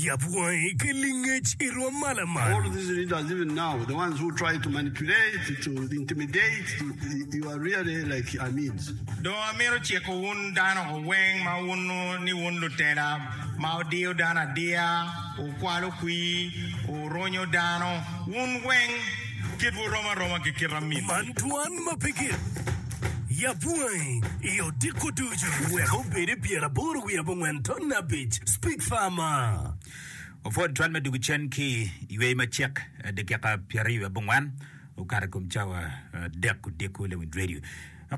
Yab wangi ki lingec i rwom ma lamal. All these leaders even now, the ones who try to manipulate, to intimidate, to, you are really like Amins. Dong amito ciko wun dano weng ma wunnu ni wun lutela ma wudiyo dano adiya, wukwalo kwir, wurunyo dano, wun weng kitwu rom aroma ki kit amin. Man dwan ma pe gik. Yab wangi i odiko ducu. Wek obed i pyeraboro wiye abongwen ton abic. Speak Farmer. Opwod twal me dugu cen ki ywey macek dakika pyeraryo abongwen okato i kom cawa adek odiko lewin radio.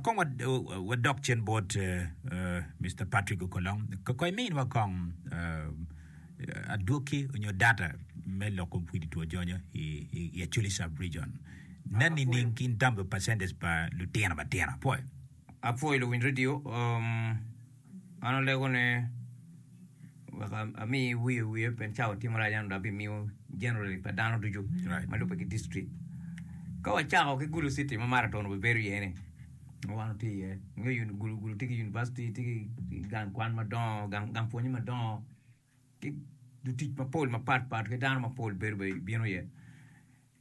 Kong wadok cen bot Mister Patrick Okolong. Kong iminwa kong adwoki onyo data me lok kom kwidi two jonyo i Acholi Sub Region. Nen nining ki in terms of percentage pa lutino matino? Apwoyo. Apwoyo luwiny radio. An alego ni wek ami wiye wiye pien cawa tye marac ento dong abimiyo generally pa dano ducu ma lubbe ki district. Ka wacako ki Gulu city ma marathon obibedo iye ni ma wan watye iye, ingeyo Gulu tye ki university, tye ki gang kwan madongo, gang pwonye madongo ki lutic mapol mapat pat ki dano mapol bedo bene bino iye.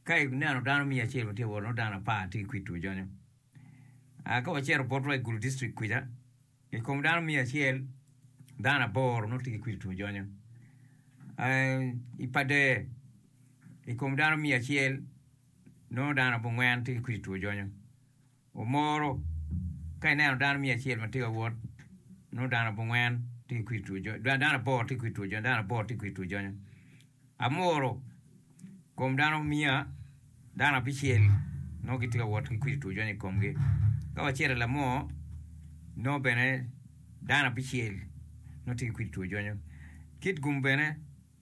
Ka ineno dano miya acel ma tye ka wot nongo dano apar tye ki kwid two jonyo. Ka wacito botwa i Gulu district kwica, I kom dano miya acel, dano aboro nongo tye ki kwidi two jonyo. I Pader, i kom dano miya acel, nongo dano abongwen tye ki kwidi two jonyo. Omoro, ka ineno dano miya acel ma tye ka wot, nongo dano abongwen tye ki kwidi two jonyo, dano aboro tye ki kwidi two jonyo, dano aboro tye ki kwidi two jonyo. Amuru kom dano miya dano abicel nongo gitye ka wot ki kwidi two jonyo i komgi. Ka wacito i lamor nongo bene dano abicel nongo tye ki kwidi two jonyo. Kitgum bene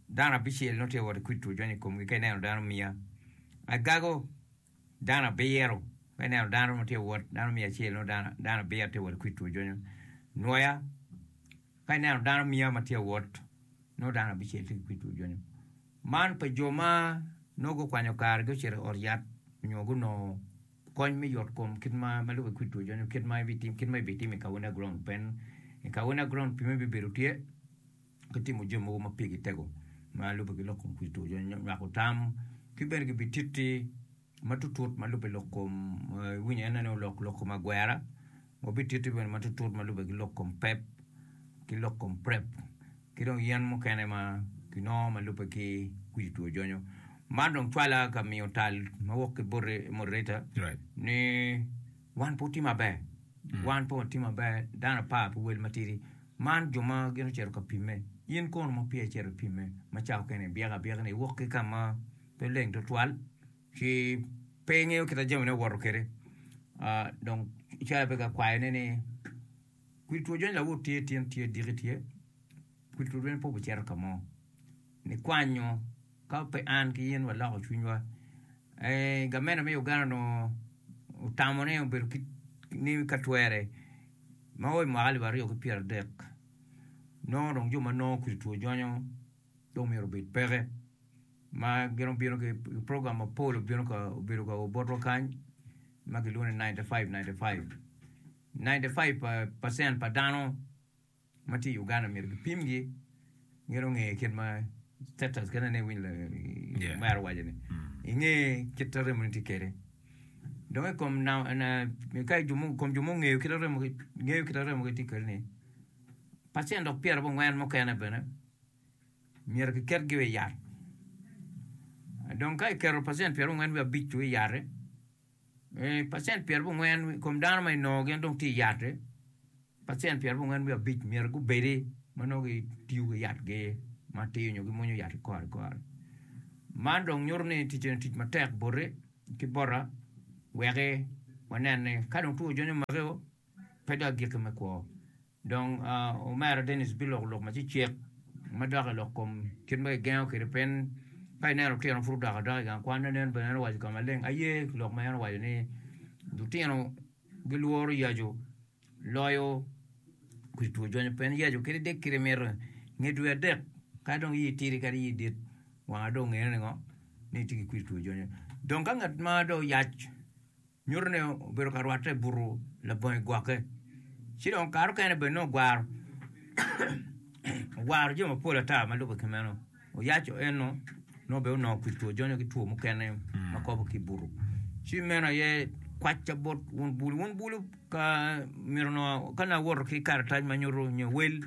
dano abicel nongo tye ka wot ki kwidi two jonyo i komgi ka ineno dano miya. Agago dano abiro ka ineno dano ma tye ka wot dano miya acel nongo dano abiro tye ka wot ki kwidi two jonyo. Nwoya Ka ineno dano miya ma tye ka wot, nongo dano abicel tye ki kwid two jonyo. Man pa jo ma nongo gukwanyo karegi ocito i ot yat nyo gunongo kony me yot kom kit ma ma lube ki kwid two jonyo kit ma kit ma ibitimo i Kawina Ground pien i Kawina Ground pime bibedo tye ki timo jami mogo ma pigi tego ma lube ki lok kom kwid two jonyo nywako tam ki bene gibititti ma tutut ma lube lok kom iwinyo en ni lok lok kom agwera wabititti bene ma tutut ma lube ki lok kom pep ki lok kom prep ki dong yen mukene ma kinongo ma lube ki kwidi two jonyo. Man dong cwala ka miyo tal ma wok ki boti moderator ni wan pe watye maber wan pe watye maber dano apar pi wel matidi man jo ma gin ocito ka pimme in kono ma peya icito ipimme ma cawa okene ibyeko abyeka ni iwok ki ka ma pe leng tutwal ci pe ingeyo kit ma jamine owoto kwede dong calo abedo ka kwayone ni kwir two jony lawot tye tin tye diki tye kwir two jony pe obicito ka mo nikwanyo ka pe an ki in waloko cwinywa gamente me Uganda onongo otamo ni obedo ni ka twere ma o i mwaka alip aryo ki pyera dek nongo dong jo ma nongo kwir two jonyo dong myero obed peke ma gin obino ki program mapol obino ka obedo ka o botwa kany ma gilwongo ni 95 95 95 percent pa dano ma tye i Uganda myero gipimgi gin onge kit ma status kene ne iwinyo Yeah. omera owaco ni inge kit ma remoni tye kwede dong i kom na- na- ka jo mo- kom jo mungeyo kit ma remogi ngeyo kit ma remogi tye kwede ni pacen dok pyerabongwen mukene bene myero kiketgi i yat. Dong ka iketo pacent pyerabongwen wiye abic-cu i yat-ti, pacent pyerabongwen i kom dano ma inongo gin dong tye i yat-ti, pacent pyerabongwen wiye abic myero gubedi ma nongo gitiyo ki yatgi matir nyo gimwonyo yat kore kore. Man dong nyuto ni tic eni tic matek boti ki bota weki wanen ni ka dong two ojonyo omaki-o pe dong agikki me kwo. Dong omera Dennis biloko lok ma cecek madok i lok kom kit ma kigengo kwede pien ka ineno lutino pud odok adoka i gang kwan nen bene en owaco ka maleng aye lok ma en owaco ni lutino gilworo yaco loyo kwidi two jonyo pien yaco kadi dek kite mito nge dwe adek ka dong iyi tidi kadi iyi dit wanga dong ongene ni ngo ni itye ki kwidi two jonyo dong ka ngat ma dong oyac Nyuto ni obedo ka rwatte i buto labongo gwokke. Ci dong kare okene bene nongo ogwaro ogwaro jami mapol ata ma lubbe ki meno. Oyaco eno nongo bene onongo kwit two jonyo ki two mukene ma kobo ki i buto. Ci meno aye kwacca bot wun bulu. Wun bulu ka myero onongo ka nongo awoto ki karatac ma nyuto nyo wel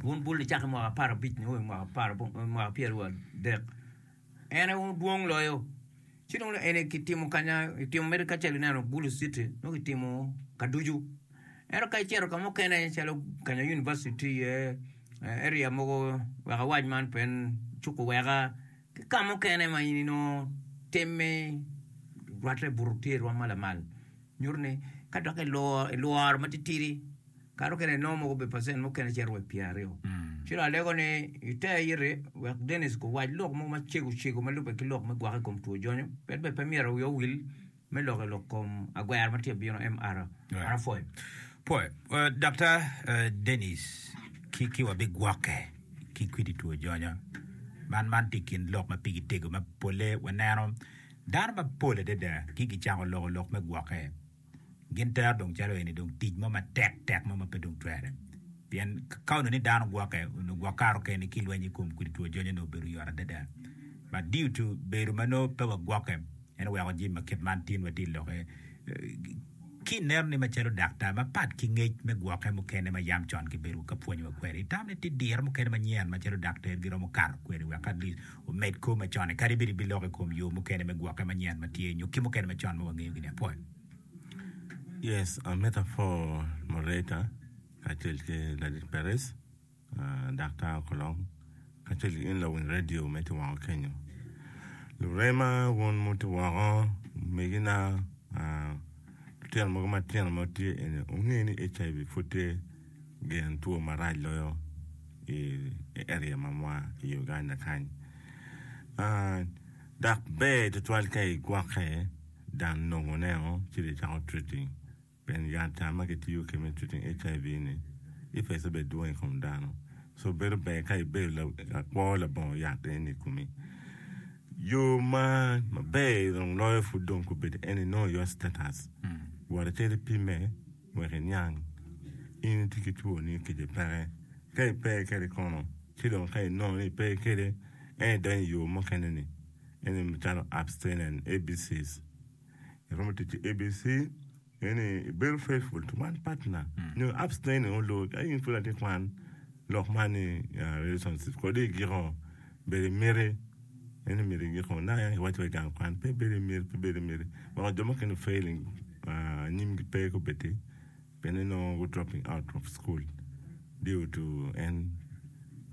wun bulu nicako i mwaka aparabic nio i mwaka mwaka pyerwadek en aye wun dwong loyo. Ci dong eni kitimo kanya kitimo mere kacel ineno bulu city nongo kitimo ka ducu. Ento ka icito ka mukene calo kanya university tye iye, area mogo wek awac man pien cuko weka ki ka mukene ma in inongo timme rwatte buto tye irwom ma lamal nyuto ni ka dok ilworo matitidi kare mukene inongo mogo obedo pacent mukene cito wa i pyeraryo. Ci dong alego ni iter iti wek Dennis guwac lok mogo macego cego ma lubbe ki lok me gwokke i kom two jonyo pien bene pe myero wiwa owil Me lok i lok kom agwero ma tye ka bino MR. Apwoyo. Pwoyo. Daktar Dennis, ki ki wabigwokke ki kwidi two jonyo. Man man tye i kin lok ma pigi tego ma polle waneno dano mapol adada ki gicako loko lok me gwokke. Gin tero dong calo eni dong tic mo matek tek mo ma pe dong twere. Pien ka onongo ni dano gwokke, onongo gwok kare okene ki lweny i kom kwidi two jonyo onongo obedo yot adada. But due to bedo ma nongo pe wagwokke, En oweko jami ma kit man tin watye i lokke. Ki ineno ni macalo daktar, mapat ki ngec me gwokke mukene ma yam con kibedo ka pwonyowa kwede, itamo ni tye diro mukene manyen macalo daktar giromo kato kwede wek at least omed kor macon-ni, kadi bed ibiloko i kom yo mukene me gwokke manyen ma tye nyo ki mukene macon ma wangeyogi-ni? Apwoyo. Yes, amito apwo moderator kacel ki ladit Perez. Daktar Okolong kacel ki in lawiny redio me tye woko kenyo. Lurema wun mutye woko, omegina, lutino mogo matino ma tye eni wunge ni HIV pud tye gin two marac loyo i area mamwa i Uganda kany. Dok ber tutwal ka igwokke dan nongone ci dong icako treating. Pien yat ca ma kitiyo kwede me treating HIV ni effects bene dwong i kom dano. So bedo ber ka ibedo lakwo labongo yat eni i komi. Yo ma maber dong loyo pud dong kobedo eni know your status. Wot icit ipime wek iniang in itye ki two ni kece peke. Ka ipe kwede kono ci dong ka inongo ni ipe kwede en idonyo i yo mukene ni eni macalo abstinence ABCs. Iromo tic ki ABC eni ibedo faithful to one partner nyo abstaining olo ka in pud atye kwan lok man ni relationship kodi igiko bedo imiti eni myero igiko naka yam kiwaco wa i gang kwan pe ibedo imiti pe ibedo imiti weko jo mukene failing anyimgi pe kubedi pien inongo gu dropping out of school due to en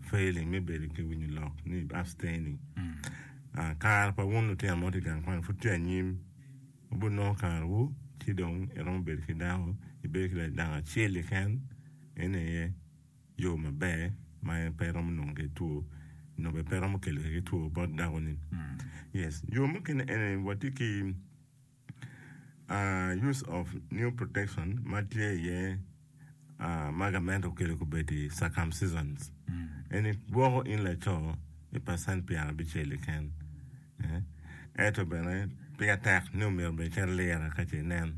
failing me bedo ki winyo lok ni abstaining. Kare pa wun lutino ma wutye i gang kwan pud tye anyim, wubinongo karewu ci dong iromo bedo ki dako, ibedo ki dako acel keken eni aye yo maber ma en pe romo nongo ki two nyo bene pe romo kelo ki two bot dakoni. Yes, yo mukene eni watye ki Use of new protection ma tye iye ma gamente okelo kobedi circumcisions eni gwoko in laco i percent pyerabicel keken ento bene pire tek ni omyero bene icit ilira ka ce inen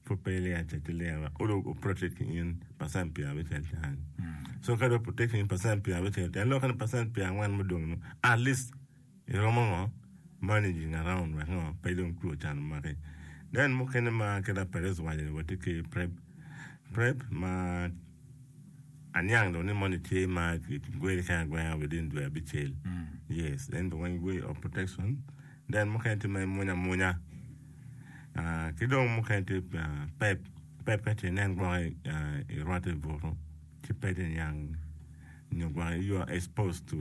pud pe ilira cet ilira wek olo o protect in percent pyerabicel kany so ka dong protect in percent pyerabicel tyen lokke ni percent pyerangwen mudong nu at least Iromo ngo managing around wek ngo pe dong two can omaki. Then mukene ma kit ma Perez owaco ni watye ki prep, prep ma aniang dong ni moni tye ma gweli kene agwenga within dwe abicel. Yes, then bene weng way of protection. Then mukene tye ma imwonyo amwonya ah, ki dong mukene tye pep, pep ka ce inen gwoki irwatte i buto ci pe itye niang nyo gwoki you are exposed to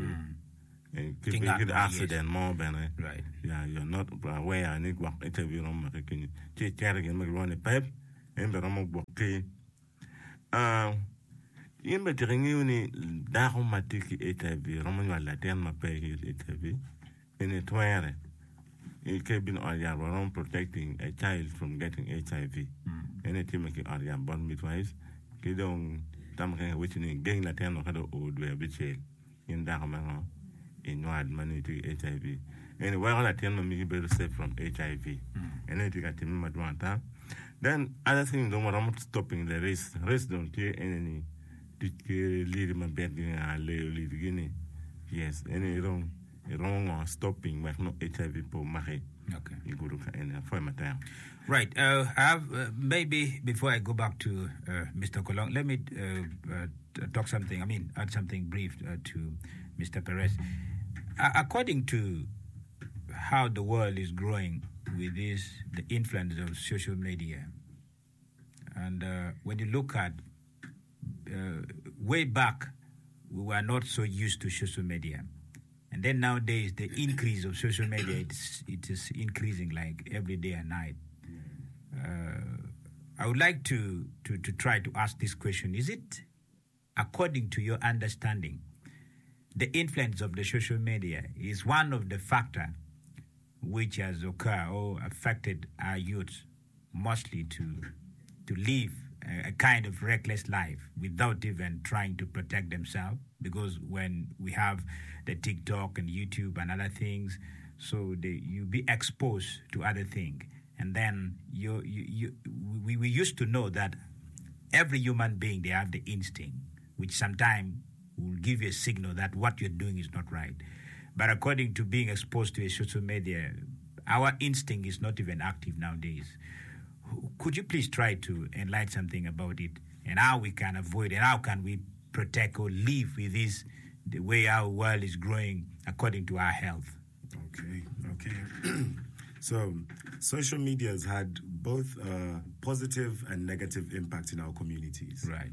Ki ngat mo accident mo bene yeah you are not aware ni gwok HIV romo make kenyo ci icito i gin ma kilwongo ni pep en bene romo gwoki in bene tika ingeyo ni dako ma tye ki HIV romo nywalo latin ma pe ki HIV eni twere ka ibino i ot yat waromo protecting a child from getting HIV eni itime ki ot yat bot midwives ki dong tam keken kiwaci ni geng latin-nu ka dong oo dwe abicel. In dako me ngo inywal ma nongo itye ki HIV eni weko latin ma megi bedo safe from HIV eno aye tye ka timme madwong ata then other thing dong waromo stopping the risk, risk dong tye eni ni tic ki liri mabit gi nga leyo liri gi ni. Yes, eni dong iromo ngo stopping wek nongo HIV pe omaki Okay. i gudo ka eni. Apwoyo matek. Right, I have, maybe before I go back to Mister Kolong, let me talk something, I mean add something brief to Mister Perez. According to how the world is growing with this, the influence of social media, and when you look at way back, we were not so used to social media. And then nowadays, the increase of social media, it's, it is increasing like every day and night. I would like to, to, to try to ask this question. Is it, according to your understanding, the influence of the social media is one of the factor which has occurred or affected our youth mostly to to live a, a kind of reckless life without even trying to protect themselves because when we have the TikTok and YouTube and other things, so they, you be exposed to other things. And then you, you, you, we, we used to know that every human being, they have the instinct, which sometimes will give you a signal that what you're doing is not right. But according to being exposed to a social media, our instinct is not even active nowadays. Could you please try to enlighten something about it and how we can avoid and how can we protect or live with this, the way our world is growing according to our health? Okay, okay. So, social media has had both a positive and negative impact in our communities. Right.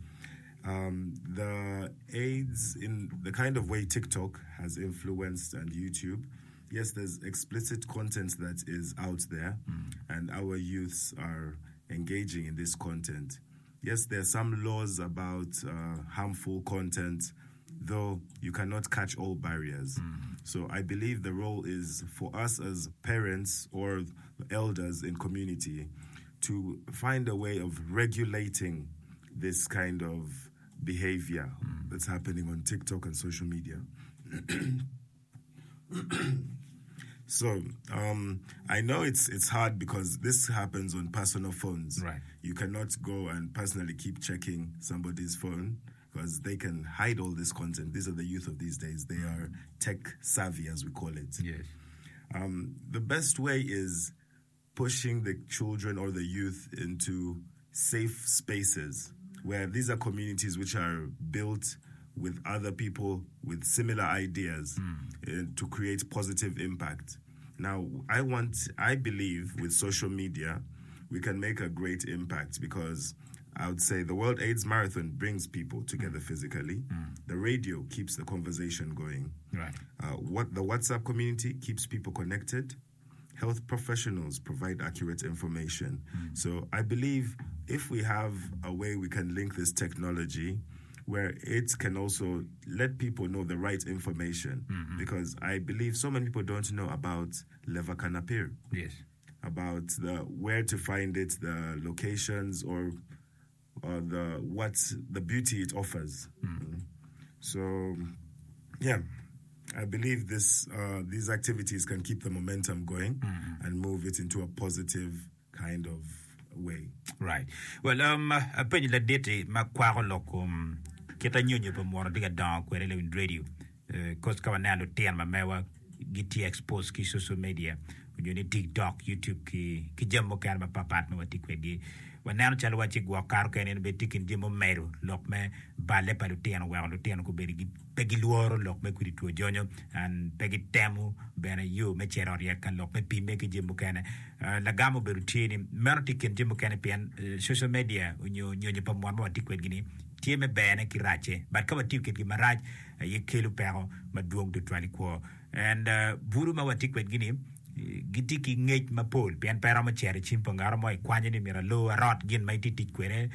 The AIDS, in the kind of way TikTok has influenced and YouTube, yes, there's explicit content that is out there, and our youths are engaging in this content. Yes, there are some laws about harmful content, though you cannot catch all barriers. So I believe the role is for us as parents or elders in community to find a way of regulating this kind of behavior that's happening on TikTok and social media. So I know it's hard because this happens on personal phones. Right. You cannot go and personally keep checking somebody's phone because they can hide all this content. These are the youth of these days. They are tech savvy, as we call it. Yes. The best way is pushing the children or the youth into safe spaces where these are communities which are built with other people with similar ideas to create positive impact. Now, I believe with social media, we can make a great impact because I would say the World AIDS Marathon brings people together physically. The radio keeps the conversation going. Right. What the WhatsApp community keeps people connected. Health professionals provide accurate information. So I believe if we have a way we can link this technology where it can also let people know the right information, because I believe so many people don't know about Levacanapir. Yes. About the where to find it, the locations, or the what the beauty it offers. I believe these activities can keep the momentum going and move it into a positive kind of way. Right. Well, apenyo ladit-ti ma kwako lok kom kit anyonyo pa muno tye ka dongo kwede i lawiny radio. Cause ka waneno lutino ma mewa gitye exposed ki social media onyo ni TikTok, YouTube ki jami mukene mapatpat ma watye kwedgi. Waneno calo waci gwok kare okene en bene tye i kin jami mumedo lok me balle pa lutino weko lutino gubedo pe gilworo lok me kudi two jonyo and pe gitemo bene yo me cito ryek ka lok me pimme ki jami mukene. Lagam obedo tye ni meno tye i kin jami mukene pien social media onyo nyonyo pa mon ma watye kwedgi ni tye me berne ki racce but ka watiyo kwedgi marac aye kelo peko madwong tutwal i kwo and buru ma watye kwedgi ni gitye ki ngec mapol pien pe romo cito i cim pa ngat mo ikwanyo ni myero alor arot gin ma itye tic kwede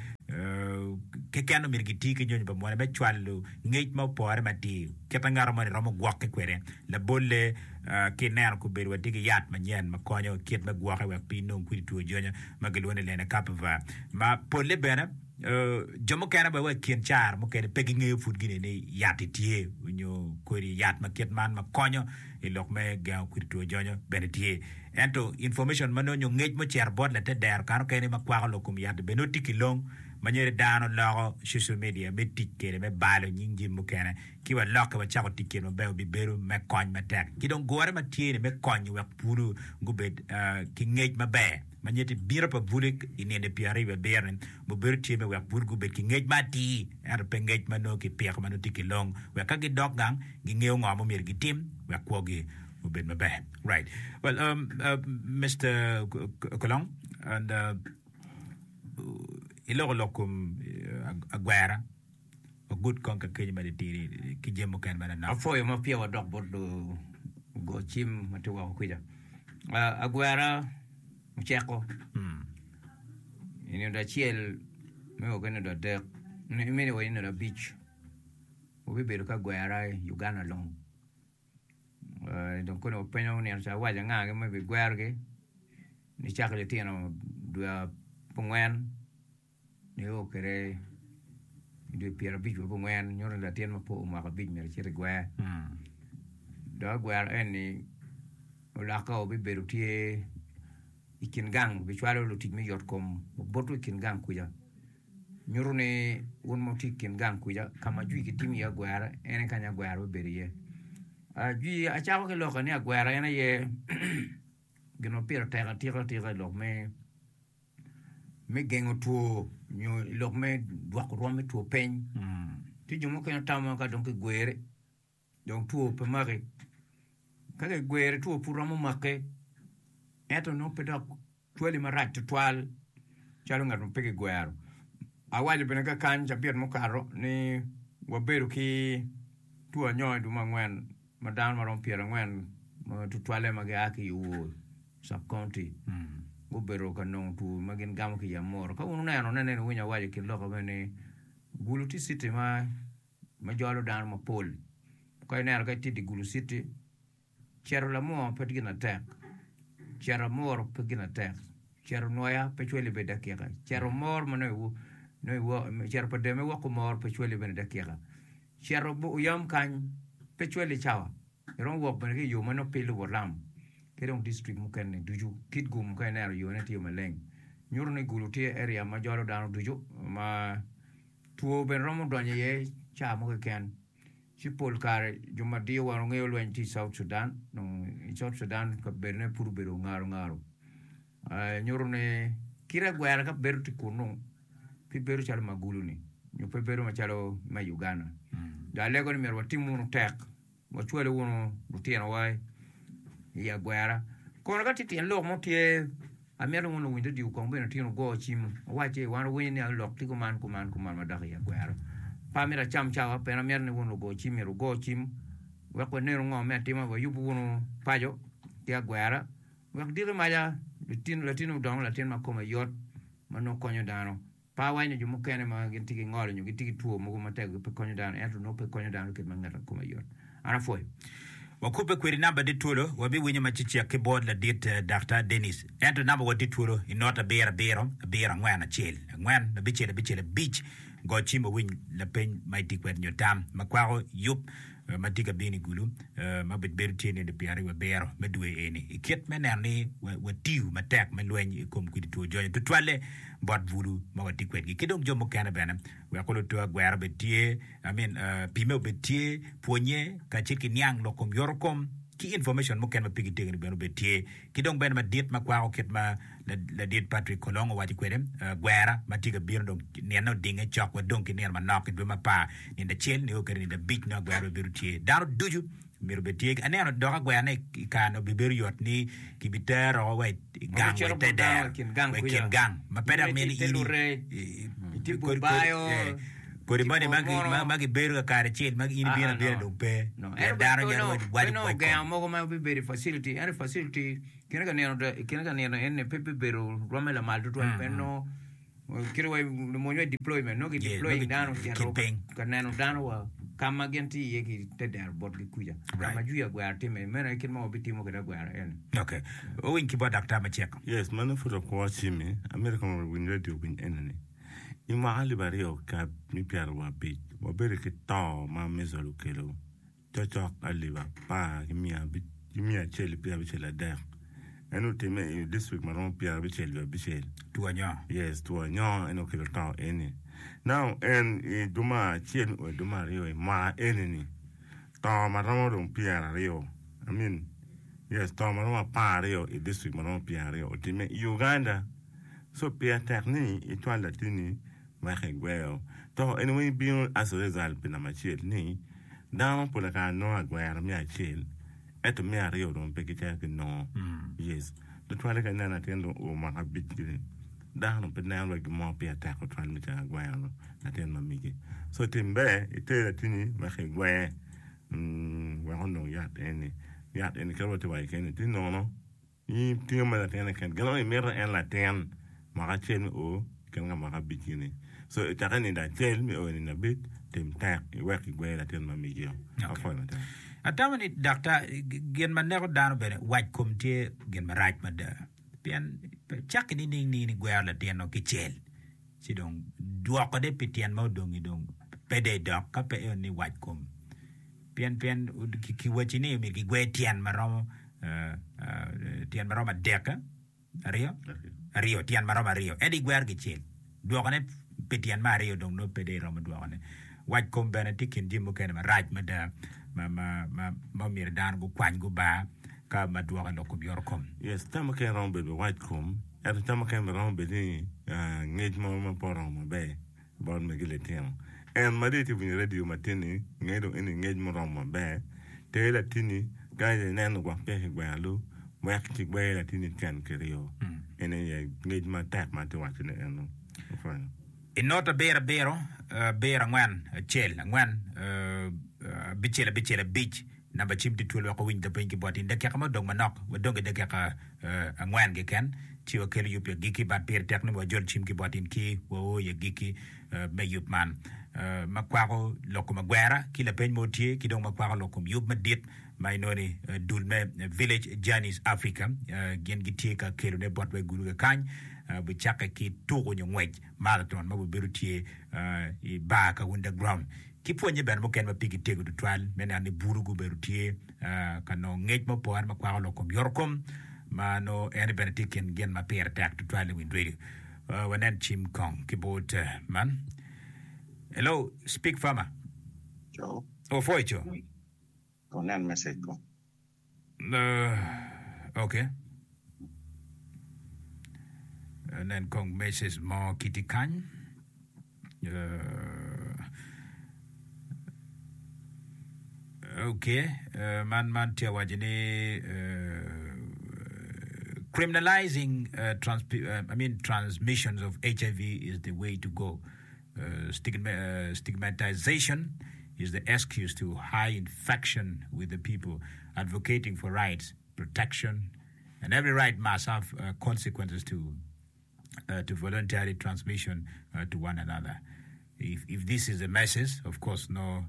keken omyero giti ki nyonyo pa mone me cwalo ngec ma opore matir kit ma ngat moni romo gwokke kwede. Labolle, ka ineno kobedo watye ki yat manyen ma konyo kit me gwokke wek pe inong kwidi two jonyo ma gilwongo ni lenacapavir ma polle bene jo mukene bene wa i kin caro mukene pe gingeyo pud gini ni yat-ti tye nyo kodi yat ma kit man ma konyo i lok me gengo kwidi two jonyo bene tye. Ento information ma nongo nyo ngec ma ocito bot latedero kare mukene ma kwako lok kom yat-ti bene nongo tye ki long. Ma nyeri dano loko social media me tic kwede me balo nying jami mukene ki walokke wacako tic kwede maber obibedo me kony matek. Ki dong gure ma tye ni me konyo wek bulu gubed ki ngec maber. Ma nyeti bino pa bulu i nino pyeraryo wiye abiro ni obedo tye me wek bulu gubed ki ngec ma atir ento pe ngec ma nongo kipiko ma nongo tye ki long wek ka gidok gang gingeyo ngo ma myero gitim wek kwogi obed maber. Right. Well, um, uh, Mister Kolong, and uh, iloko lok kom agwera wagut kong ka kenyo ma litidi ki jami mukene ma nanok. Apwoyo ma peya wadok bot lugo cim ma tye woko kwica. Agwera oceko i nino acel me o ki nino adek me o ki nino abic wabibedo ki agwera i Uganda long. Dong koni wapenyo nino ca awaco anga ma bigwerogi nicako litino dwe abongwen nio kwede i dwe pyerabic wa abongwen nyuto ni latin ma pud omako abic myero ecit i gwer dok agwero eni olokke bibedo tye i kin gang bicwalo lutic me yot kom obuto i kin gang kuca. Nyuto ni wun ma wutye i kin gang kuca ka ma jwi kitimo iye agwera en aye kanya agwera bibedo iye. Jwi acako ki loko ni agwera en aye gin ma pire tek atika atika i lok me me gengo two nyo i lok me dwoko rwom me two piny. Tye jo mukene tamo ka dong kigwere dong two pe maki ka kigwere two pud romo make ento nongo pe dok Twali marac tutwal calo ngat ma pe kigwero. Awaco bene kakany cabit mukato ni wabedo ki two anyo i dwe angwen ma dano maromo pyerangwen tutwalle ma gia ki i Owor Sub County gubedo ka nongo two ma gin gamo ki i Amuru. Ka wun wuneno ne nene wuwinyo awaco i kin lok meno ni Gulu tye citi ma jolo dano mapol. Ka ineno ka itye i dye Gulu citi Cito lamwor pe gin atek, cito amuru pe gin atek, cito nwoya pe cwali bene dakika, cito mor ma nongo cito pa deme woko mor pe cwali bene dakika, cito oyam kany pe cwali cawa, iromo wok bene ki i yo ma nongo pe ilubo lam ki dong dictrik mukene ducu Kitgum ka ineno yone tye maleng nyuto ni Gulu tye area ma jolo dano ducu ma two bene romo donyo iye ca mo keken. Ci pol kare jo ma diyo wan wangeyo lweny tye i South Sudan, dong i South Sudan kabedone pud obedo ngaro ngaro. Nyuto ni kite agwera ka bedo tye kunu pe bedo calo ma Gulu-ni nyo pe bedo macalo me Uganda. Dong alego ni myero watim wunu tek, wacwalo wunu lutinowa i agwera. Kono ka tye tyen lok mo tye Amito ni wun luwiny redio kong bene otin wugo cim wuwacci wan wawinyo ni lok tye kuman kuman kuman madok i agwero. Pe amito acam cawa pien amito ni wun lugo cim myero wugo cim wek wanenu ngo me atima wayubu wunu paco ki agwera wek diki maca latin odong latin ma kome yot ma nongo konyo dano. Pe awaco ni jo mukene ma gin tye ki ngolo nyo gitye ki two mogo matego pe konyo dano, ento nongo pe konyo dano kit ma ngat ma kome yot. An apwoyo. Wakubbe kwedi namba tye twolo, wabiwinyo ma cecek ki bot ladit Daktar Dennis. Ento namba wa tye twolo i not abiro abiro, abiro angwen acel, angwen abicel abicel abic. Go cim wawiny lapeny ma itye kwede nyo tam ma kwako yub ma tye ka bino i Gulu ma obedo tye nino pyeraryo abiro me dwe eni i kit me neno ni watiyo matek me lweny i kom kwidi two jonyo tutwalle bot bulu ma watye kwedgi ki dong jo mukene bene wek oluto agwera obed tye I mean pimme obed tye pwonye kacel ki niang lok kom yoto kom ki information mukene ma pigi tego ni bene obed tye ki dong bene madit ma kwako kit ma ladit Patrick Kolong owaco kwede gwera ma tye ka bino dong nine odinge cok wa dong ki nino manok i dwe me apar nino acel nio kwede nino abic nongo agwera bene bedo tye dano ducu myero obed tye aneno dok agwera ne i kare ni obibedo yot ni kibitero wa i gang wa i te dero wa i kin gang ma pe dok mito ni in kodi moni ma gibedo kakare acel ma in ibino abina dong pe pien dano nyalo waco Pe kwac gengo mogo ma bibedo i facility ento i facility kine ka nino kine ka nino eni pe bibedo rwomme lamal tutwal pien nongo kit wa lumony wa i deployment nongo ki deploying dano ocito ka neno dano wa ka ma gin tye iye ki te dero botgi kuca ka ma jwi agwera timme meno aye kit ma wabitimo kwede agwera eni. Ok, wawiny ki bot daktar macek. Yes, mano pud okwo cimi, amito kong owiny radio winy enoni. I mwaka alip aryo ki pyerawic wabedo ki to ma measles okelo. Cokcok alip apar ki miya acel ki pyerabicel adek. En otimme i district ma romo pyerabicel wiye abicel. Two anyo. Yes, two anyo en okelo to eni. Now en i duma acel nyo i duma aryo i mwaka eni ni to ma romo dong pyeraryo I mean yes to ma romo apararyo i district ma romo pyeraryo otimme i Uganda. So pire tek ni icwal latinni wek igweo. To eni weng bino as a result pi namba acel ni dano pol kare nongo agwero me acel ento me aryo dong pe gicito ginongo. Yes. Tutwalle ka ineno latin dong oo mwaka abic gini, dako dong pe neno wa gin mo pire tek tutwal me cito ka gwero latin ma megi. So tim ber iter latinni wek igwer wek onong yat eni. Yat eni kit ma watye ka waco kene tye nono. In itingo mere latin keken, gin ango imito en latin mwaka acel me o kene ka mwaka abic gini. So cakke i nindo acel me o i nindo abic, tim tek iwek kigwer latin ma migi-o. Apwoyo matek. Atamo ni daktar, gin ma neko dano bene wac kom tye gin marac mada. Pien cakke nining ni in igwero latin-nu kicel, ci dong dwokone pi tyen ma odongi dong pe dong idok ka pe en ni wac kom. Pien pien kiwacci ni myero kigwer tyen ma romo tyen ma romo adek, aryo, aryo, tyen ma romo aryo. Ento igwero kicel, dwokone pi tyen me aryo dong nongo pe dong iromo dwokone. Wac kom bene tye i kin jami mukene marac mada ma ma ma ma myero dano gukwany gubar ka ma dwoko i lok kom yoto kom. Yes, tam mukene romo bedo wac kom, ento tam mukene bene romo bedo ni ngec mo ma pe oromo maber. Bot megi litino. En ma dong itye winyo radio matin-ni, nge dong eni ngec muromo maber. Ter latinni ka ineno gwok peya kigwero alu, wek kigwer latinni tyen kiryo. En aye ngec matek ma atye wacone eno. Apwoyo. I not abiro abiro, abiro angwen, acel, angwen, abicel, abicel, abic, Namba cim tye twolo wek owiny lapeny ki bot in. Dakika ma odong manok, wadong ki dakika angwen keken ci wakelo yub i agikki. But pire tek ni wajol cim ki bot in ki wao i agikki me yub man ma kwako lok kom agwera ki lapeny mo tye ki dong ma kwako lok kom yub madit ma inongo ni dul me Village Journeys Africa gin gitye ka kelone botwa i gulu kakany bicakke ki tuko nyo ngwec marathon ma bibedo tye i bar Kawunda Ground. Ki pwonnye bene mukene ma pigi tego tutwal me neno ni bulu gubedo tye ka nongo ngec ma opore ma kwako lok kom yotokom ma nongo en bene tye i kin gin ma pire tek tutwal i winy redio. Wanen cim kong ki bot man. Hello, speak farmer. Co. Opwoyo co. Kong nen message kong. Ok. Nen kong message mo kiti kany. Ok, man man tye waco ni criminalizing trans I mean transmissions of HIV is the way to go. Stigmatization is the excuse to high infection with the people advocating for rights, protection, and every right must have consequences to to voluntary transmission to one another. If, if this is the message, of course, no,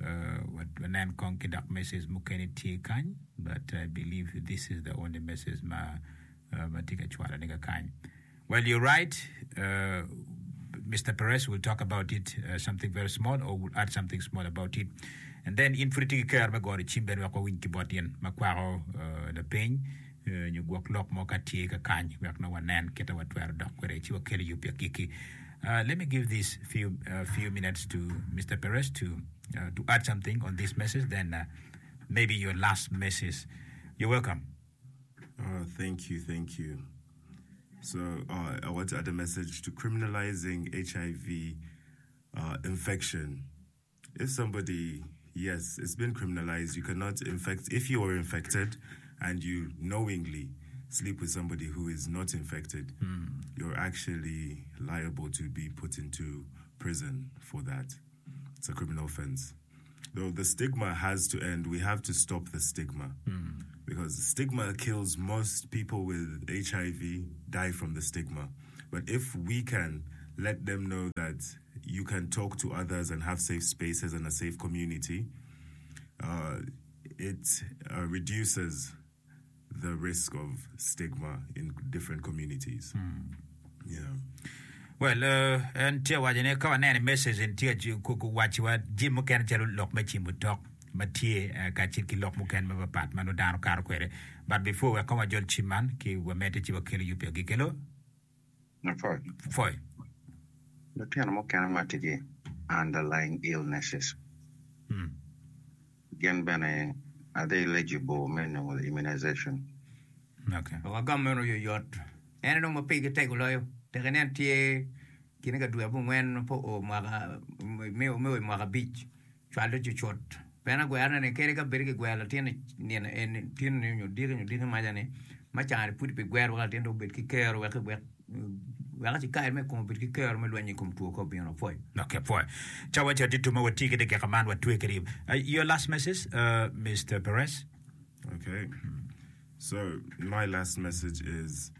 wanen kong ki dok message mukene tye kany, but I believe this is the only message ma ma tye ka cwalo ne kakany. Well you're right Mister Perez will talk about it something very small or will add something small about it and then in pud itye ki kero me goro cim bene wek wawiny ki bot in ma kwako lapeny nyo gwok lok mo ka tye kakany wek nongo wanen kite watwero dok kwede ci wakelo yub i agikki. Let me give this few few minutes to Mister Perez to to add something on this message then maybe your last message. You're welcome. Oh, thank you, thank you. So uh, I want to add a message to criminalizing HIV uh, infection. If somebody, yes, it's been criminalized, you cannot infect, if you are infected and you knowingly sleep with somebody who is not infected, you're actually liable to be put into prison for that. It's a criminal offense. Though the stigma has to end, we have to stop the stigma. Because the stigma kills most people with HIV, die from the stigma. But if we can let them know that you can talk to others and have safe spaces and a safe community, uh, it uh, reduces the risk of stigma in different communities. Yeah. Well, en tye waco ni ka waneno i message en tye ka wacciwa jami mukene calo lok me cimo tok. ma tye kacel ki lok mukene mapapat ma nongo dano kato kwede. But before wek kong wajol cim man ki wamedde ci wakelo yub pi agikki. Hello. Lapwony. Pwoy. Lutino mukene ma tye ki underlying illnesses gin bene are they eligible me nongo immunization? Okay. Wek wagam meno oyoyot. En aye dong ma pigi tego loyo. Tek inen tye kine ka dwe abongwen ma pe oo mwaka me o i mwaka abic. Cwalo cucut. Pien agwerone ni kadi ka bed kigwero latin i nino eni tinoni nyo diki nyo diki maca ni ma cani pud ibigwero wek latin dong obed ki kero wek wek wek acikari me kome obed ki kero me lweny i kom two ka obino. Apwoyo. Ok, apwoyo. Cawa ca adito ma watye ki dakika man watwe kwede. Your last message, Mister Perez? Okay. So my last message is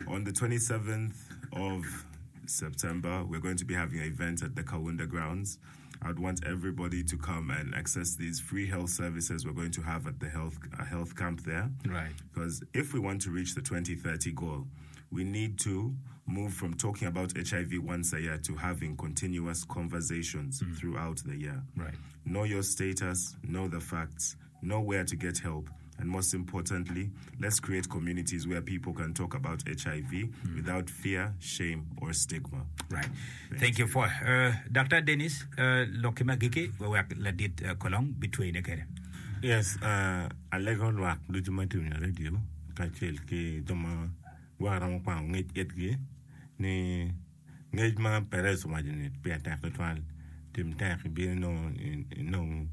on the 27th of September, we're going to be having an event at the Kawunda grounds. I'd want everybody to come and access these free health services we're going to have at the health, uh, health camp there. Right. Because if we want to reach the 2030 goal, we need to move from talking about HIV once a year to having continuous conversations throughout the year. Right. Know your status, know the facts, know where to get help, and most importantly, let's create communities where people can talk about HIV without fear, shame, or stigma. Right. Thank you for uh, Dr. Dennis uh, lokki ma giki wek ladit uh, kolong bitweyine kede. Yes, uh, alego lwak ducu ma tye winyo radio kacel ki jo ma gwok romo kwano ngec itgi ni Ngec ma Perez owaco ni pire tek tutwal. Tim tek ibin inongo inong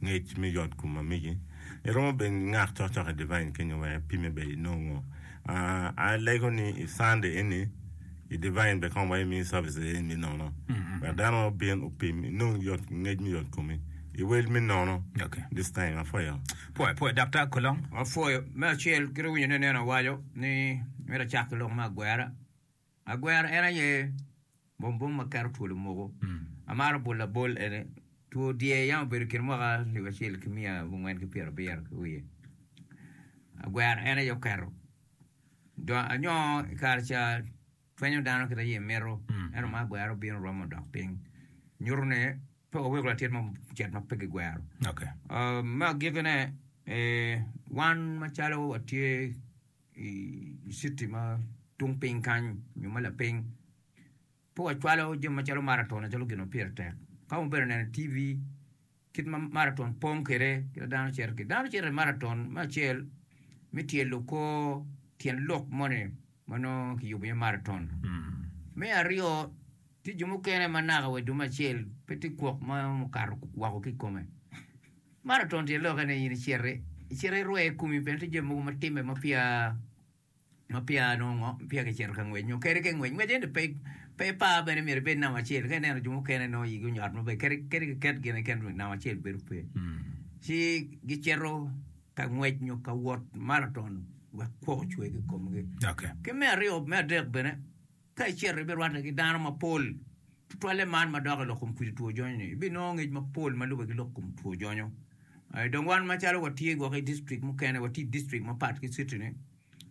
ngec me yot kom ma megi. Iromo bene ngak cokcok i Divine kenyo wek ipime bene inongo. Alego ni i Sunday eni i Divine bene kong wa imi services eni me nono wek dano obin opim inong yot ngec me yot komi i wel me nono this time. Apwoyo. Pwoyo, pwoyo Daktar Kolong. Apwoyo. Me acel kit iwinyo ni nene awaco ni myero acak ki lok me agwera. Agwero en aye bombom ma keto twol omuko. Amaro bolo labol eni, two dyer yam obedo i kin mwaka alip acel ki miya abongwen ki pyerabiro ki wiye. Agwero en aye oketo. Dong anyoo i kare ca twenyo dano kit aye mito, ento ma agwero obino romo odok piny. Nyuto ni pe waweko latin mo ocit ma pe gigwero. Me agikkine, wan macalo watye i citi ma tung piny kany nyo ma lapiny, pe wacwalo jami macalo maraton macalo gin ma pire tek. Ka wubedo neno i TV kit ma maraton pong kwede, kit ma dano cito kwede, dano cito i maraton me acel me tyelo kor tyen lok moni ma nongo kiyubo iye maraton. Me aryo, tye jo mukene ma naka wa i dwe me acel pe tye kwok ma okato woko ki i kome. Maraton tye lokke ni in iciti, icito irwe komi pien tye jami mogo ma timme ma peya ma peya nongo ngo peya kicito ka ngwec nyo kadi ka ingwec ngwec ento pe pe ipar bene myero ibed namba acel ka ineno jo mukene nongo igi onyot maber kadi kadi kiket gin keken namba acel bedo pe ci gicito ka ngwec nyo ka wot maraton wek kwok ocwe ki i komgi. Okay. Ki me aryo me adek bene Ka icito ibirwatte ki dano mapol, tutwalle man ma dok i lok kom kwidi two jonyo-ni, ibinongo ngec mapol ma lubbe ki lok kom two jonyo. Dong wan macalo watye gwok i distrik mukene, watye i distrik mapat ki citi-ni,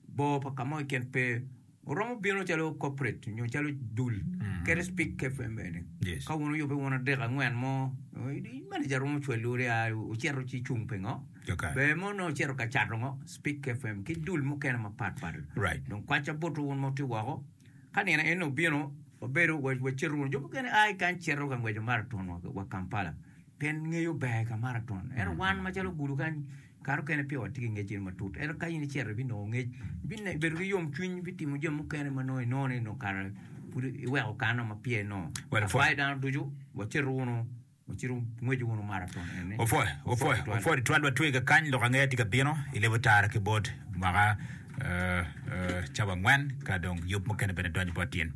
bor pa ka mo keken pe. Oromo bino calo corporate nyo calo dul, kadi Speak FM bene. Ka wun wuyubbe wun adek angwen mo, manager romo cwalowu ni wucito ci icung pingo? Ber mo nongo wucito ka cato ngo? Speak FM ki dul mukene mapat pat. Dong kwaca botwu wun ma wutye woko, ka nino eni obino, wabedo wacito wunu. Jo mukene a ki kany cito ka ngweco maraton wa Kampala pien ngeyo ber ka maraton. Ento wan macalo gudo kany, kare mukene peya watye ki ngec eni matut. Ento ka in icito ibinongo ngec, ibedo ki yomcwiny, ibitimo jami mukene ma nongo inongo ni nongo kare pud iweko kano ma peya inongo. Akwayo dano ducu wacito wunu. Opwoyo, opwoyo, opwoyo tutwal watwe kakany lok angeya tye ka bino i lebo tara ki bot mwaka cawa angwen ka dong yub mukene bene donyo bot in.